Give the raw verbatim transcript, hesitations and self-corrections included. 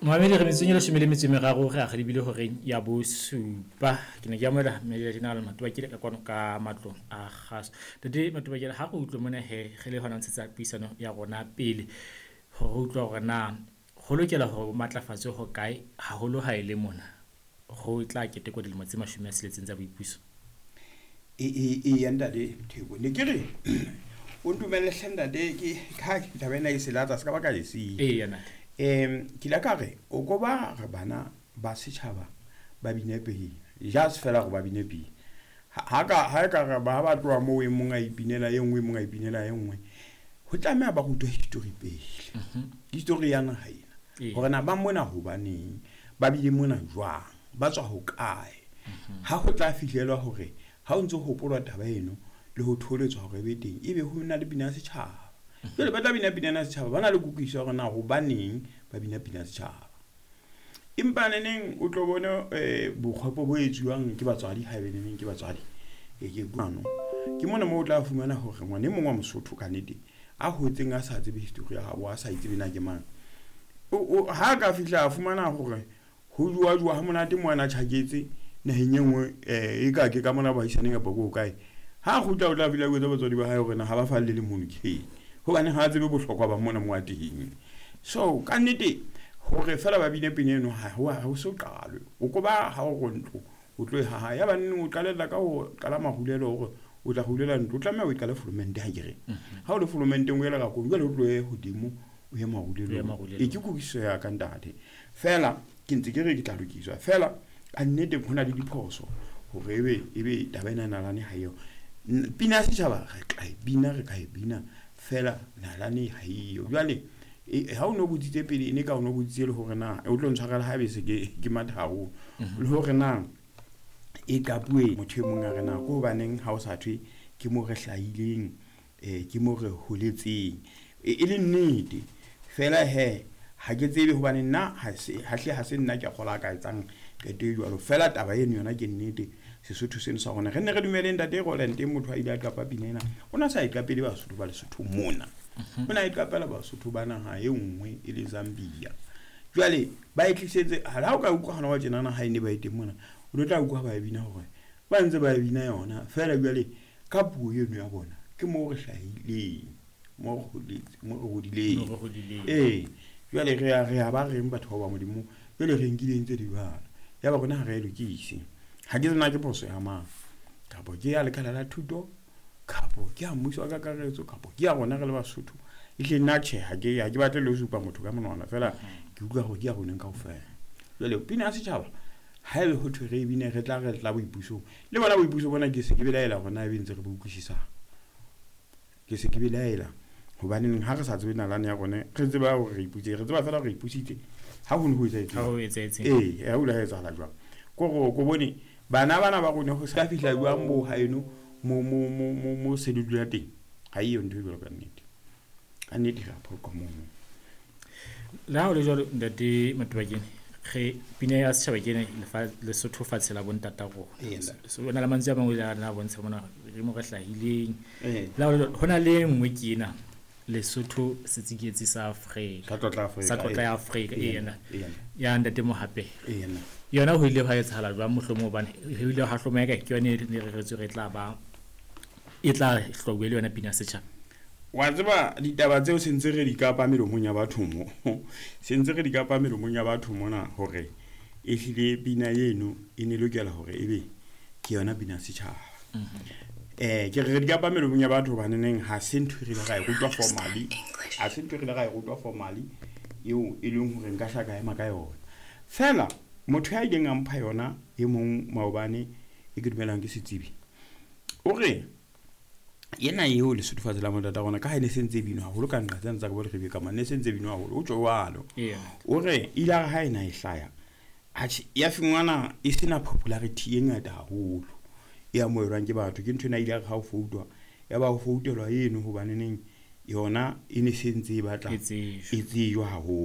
Moamedi re metsotsong e leshome le metso e meraro re akgadibile horeng ya bosupa. Ke ne ke amohela Major General Matobakele ka kwano ka matlong a kgaso. Ntate Matobakele, ha re utlwe mona he re le hona ho ntshetsa puisano ya rona pele hore re utlwe hore na ho lokela hore ho matlafatswe ho kae haholo ha e le mona ho tla ketekwa dilemo tse mashome a tsheletseng tsa boipuso. Eya ntate Theko, ne ke re o ntumelle hle ntate, ke ka taba ena e se latsa se ka ba ka e siya. Eya ntate. Um ke ile ka re o ko ba re bana ba setjhaba ba bine pele, just fela gore ba bine pele. Ha ka ha ka re ba ba tloha moo e mong a ipinela e nngwe, e mong a ipinela e nngwe, ho tlameha ba rutwe history pele. History ya naha ena, hore na ba mona hobaneng, ba bile mona jwang, ba tswa hokae. Ha ho tla fihlelwa hore ha o ntso hopolwa taba eno le ho tholetswa hore e be teng, ebe ho na le pina ya setjhaba. Jwale ba tla bina pina ya setjhaba, ba na le kutlwisiso ya hore na hobaneng ba bina pina ya setjhaba. Empa neneng o tlo bone um bokgopo bo etsuwang ke batswadi, haebe neneng ke batswadi. E ke kwano ke mona moo o tla fumana hore ngwana e mong wa Mosotho ka nnete a hotseng a sa tsebe history ya habo, a sa itsebe na ke mang, ha ka fihla a fumana hore ho jowa jowa ha monate mo ana tjhaketse naheng e nngwe, um e ka ke ka mona baahisaneng kapa ko kae, ha kgutla o tla fihla a jwetsa batswadi ba hae hore na ha ba falle le mono ke eng, hobane ha a tsebe bohlokwa ba mona mo a teng. So ka nnete hore fela ba bine pina eno ha ho so qalwe. O ko ba ha o re ntlo o tlo e haha, ya ba neng o qalella ka ho qala marulelo hore o tla rulela ntlo, o tlameha o e qale folomente ha ke re. Ha o le folomenteng o ye lerakong, jwale o tlohe hodimo o ye marulelong. E ke kutlwisiso ya ka ntate. Fela ke ntse ke re ke tla lokiswa, fela ka nnete ho na le diphoso hore ebe ebe taba ena nalane ha eo. Pina ya setjhaba re tla e bina, re ka e bina, fela nalane ha eyo. Jwale ha o no botsitse pele, e ne ka o no botsitse le hore na o tlo ntshwarela haebe se ke ke matha haholo, le hore na e qapuwe motho e mong a re na ke hobaneng ha o sa thwe ke mo re hlahileng, um ke mo re holetseng. E le nnete fela he ha ke tsebe hobane nna ha se hahle ha se nna ke kgola ka etsang qeto e jwalo. Fela taba eno yona ke nnete, Sesotho seno sa rona re nne re dumele ntate Roland motho a ile a qapa pina ena, o na sa e qapele Basotho ba Lesotho mona, o na e qapela Basotho ba naha e nngwe e le Zambia. Jwale ba e tlisetse ha o ka utlwa hona wa tjenana ha e ne ba e teng mona, o tlo tla utlwa ba e bina hore ba ntse ba e bina yona fela. Jwale ka puo eno ya bona ke moo re hlahileng, mo re holetse, mo re hodileng. Ee, jwale re a re a ba reng batho ba ba Modimo, jwale re nkile ntse di jwalo, ya ba rona ha re e lokise. Ha ke tsena ke phoso ya mang, kapo ke ya lekala la thuto, kapo ke ya mmuso wa kakaretso, kapo ke ya rona re le Basotho. Ehlile nna tjhe, ha ke ha ke batle le ho supa motho ka monwana, fela ke utlwa hore ke ya rona kaofela. Jwale pina ya setjhaba haebe ho thwe re e bine, re tla re tla boipusong, le bona boipuso bona ke se ke belaela hore na ebe ntse re bo utlwisisang. Ke se ke belaela hobaneng ha re sa tsebe nalane ya rona, re tseba hore re ipusitse, re tseba fela hore re ipusitse ha ho ne ho etsahetse. Ha ho etsahetse. Ee, ha ho ile ha etsahala jwang. Ko re ko bone bana bana ba rona ho ska fihla jwang bo haeno mo mo mo mo mo se le dula teng. Ha eyo ntho e jwalo ka nnete. Ka nnete re a phoqa mono. Le ha ho le jwalo ntate Matobakele, re pina ya setjhaba ke ena Lesotho fatshe la bontata rona. So na le mantswe a mangwe a na bontsha mona re mo re hlahileng. Le ha ho le jwalo, ho na le e nngwe ke ena Lesotho setsiketsi sa Afrika. Sa tlotla Afrika. Sa tlotla ya Afrika, ena. Ena. Ya ntate Mohape. Ena. Yona ho ile hwa etsahala jwang mohlomong, hobane ho ile ha hlomeha ke yone e ne reretswe re tla ba e tla hlwauwe le yona pina ya setjhaba. Wa tseba ditaba tseo se ntse re di kapa melomong ya batho mo. Se ntse re di kapa melomong ya batho mona hore ehlile pina eno e ne lokela hore ebe ke yona pina ya setjhaba. Eh ke re di kapa melomong ya batho hobane neng ha se ntho e re ile ra e rutwa formally, ha se ntho e re ile ra e rutwa formally eo e leng hore nka hla ka ema ka yona. Fela motho ya ileng a mpha yona e mong maobane e ke dumelang ke setsebi, o re yena eo Lesotho fatshe la bontata rona ka ha e ne se ntse e binwa haholo ka nqa tsena tsa ka bo Leribe ka mane, ne se ntse e binwa haholo, o tjho jwalo. O re ile a re ha ena e hlaya, atjhe ya fumana e sena popularity e ngata haholo e amohelwang ke batho. Ke ntho ena ile a re ha o foutwa, ya ba ho foutelwa eno hobaneneng yona e ne se ntse e batla E tsejwa. e tsejwa haholo.